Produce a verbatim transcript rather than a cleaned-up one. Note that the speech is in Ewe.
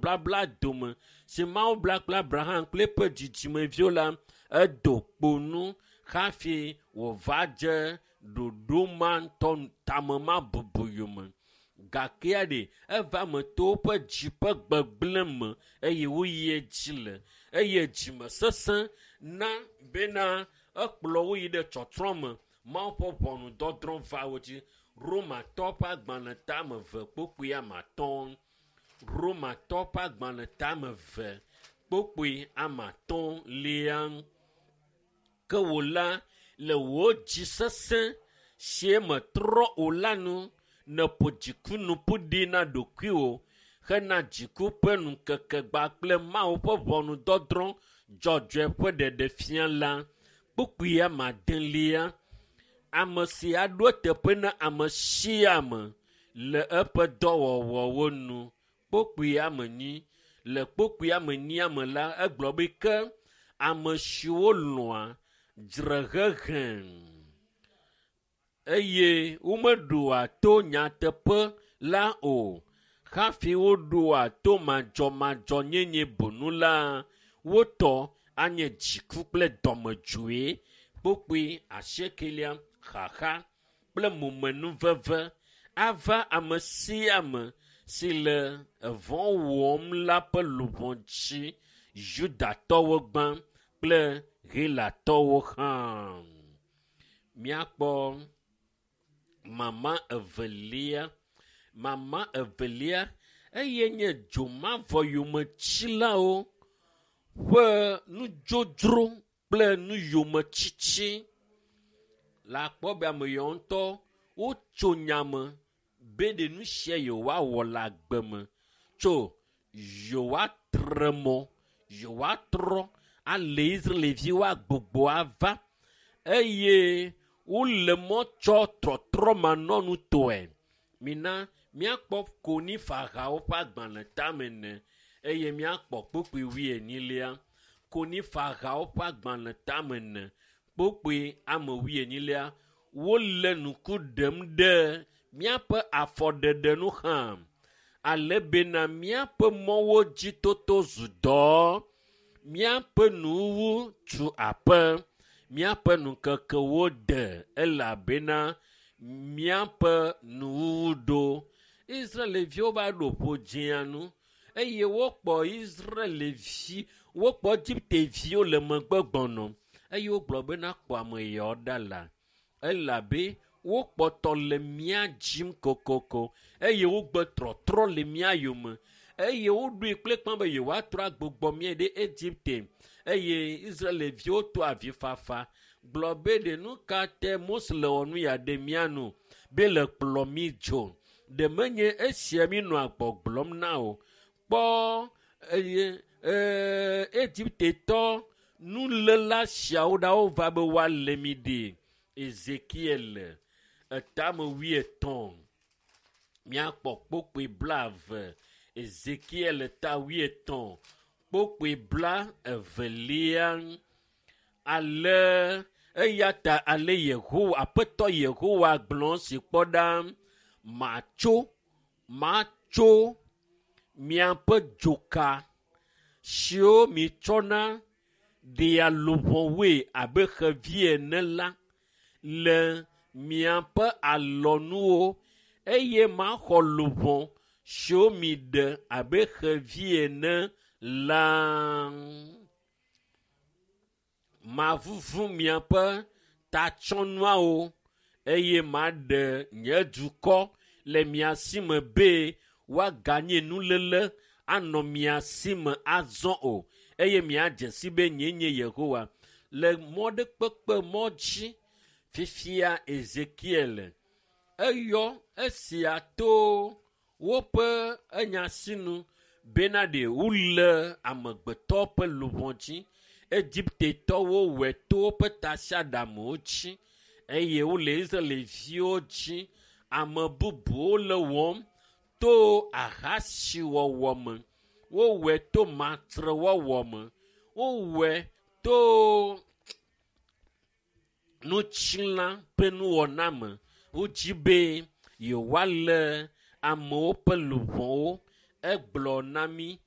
Blabla dome si Mawu bla kple Abraham kple eƒe dzidzimeviwo la, edo kpo nu hafi wòva dze ɖoɖo ma ŋutɔ tame ma bubu yome. Gakea ɖe eva me to woƒe dzi ƒe gbegblẽ me eye woyi edzi le eye dzime sesẽ na bena ekplɔ wo yi ɖe tsɔtsrɔ̃ me. Mawu ƒe ʋɔnudɔdrɔ̃ va wo dzi. Romatɔ ƒe agbalẽ tame eve kpukpui ame atɔ̃. Romatɔ ƒe agbalẽ tame eve kpukpui ame atɔ̃ lia. Ke wò la, le wò dzi sesẽ si metrɔ o la nu, nèƒo dziku nu ƒu ɖi na ɖokuiwò hena dziku ƒe ŋkekegba kple Mawu ƒe ʋɔnudɔdrɔ̃ dzɔdzɔe ƒe ɖeɖefia la. Kpukpui ame adelia. Ame si aɖo eteƒe na ame sia ame le eƒe dɔwɔwɔwo nu. Kpukpui ame enyi. Le kpukpui ame enyia me la, egblɔ be ke ame siwo lɔ̃a dzrehehe eye womeɖoa to nyateƒe la o hafi woɖoa to madzɔmadzɔnyenye bonu la, wotɔ anye dziku kple dɔmedzoe. Kpukpui asiekelia xaxa kple momenuveve ava ame sia ame si le evɔ̃ wɔm la ƒe luʋɔ dzi, Yudatɔwo gbã kple Helatɔwo hã. Míakpɔ mama evelia. Mama evelia eye nye dzomavɔ yometsilawo ƒe nudzodzro kple nuyometsitsi. Le akpɔ be ame yawo ŋutɔ wotso nya me be ɖe nu sia yewoawɔ le agbe me tso yewoatre mɔ, yewoatrɔ ale Israelviwo agbogbo ava eye wole mɔ tsɔ trɔtrɔ manɔnutɔe. Mina míakpɔ Konifahawo ƒe agbalẽ tame ene eye míakpɔ kpukpui wuienyilia. Konifahawo ƒe agbalẽ tame ene kpukpui ame wuienyilia. Wole ŋku ɖem ɖe míaƒe afɔɖeɖe nu hã ale bena míaƒe mɔwo dzi toto zu dɔ, míaƒe nuwuwu tu aƒe, míaƒe ŋkekewo de elabena míaƒe nuwuwu ɖo. Israelviwo va ɖo ƒodzĩa nu eye wokpɔ Israelvi, wokpɔ Egipteviwo le megbe gbɔnɔ eye wogblɔ bena kpɔ ame yawo ɖa la elabe wokpɔtɔ le mía dzim kokoko eye wogbe trɔtrɔ le mía yome eye woɖoe kple kpã be yewoatrɔ agbugbɔ mía ɖe Egipte eye Israelviwo to avifafa gblɔ be ɖe nu ka te Mose le wɔ nu ya ɖe mía nu be le kplɔ mí dzo ɖe menye esia mi nɔa gbɔgblɔm na o kpɔ eye ee Egiptetɔ nuléla siawo ɖa wova be woalé mi ɖi. Ezekiel etame wuietɔ̃ míakpɔ kpukpui blaeve. Ezekiel ta wuietɔ̃ kpukpui bla evelia. Ale eya ta ale Yehowa Aƒetɔ Yehowa gblɔ si kpɔ ɖa matso matso miaƒe dzoka siwo mitsɔna ɖea luʋɔwoe abe xevi ene la le miaƒe alɔnuwo eye maxɔ luʋɔ siwo miɖe abe xevi ene la. Mavuvu miaƒe tatsɔnuawo eye maɖe nye dukɔ le mia si me be woaganye nuléle anɔ mia si me azɔ o eye miadze si be nyee nye Yehowa. Le mɔ ɖe kpekpe mɔ dzi fifia Ezekiel eyɔ esia to woƒe enyasinu bena ɖe wole amegbetɔ ƒe luʋɔ dzi. Egiptetɔwo wɔe to woƒe tasiaɖamwo dzi eye wole Israelviwo dzi. Ame bubuwo le wɔm to ahasiwɔwɔ me. Wowɔe to matrewɔwɔ me. Wowɔe to nutsila ƒe nuwɔna me. Wodzi be yewoalé amewo ƒe luʋɔwo. Egblɔ na mí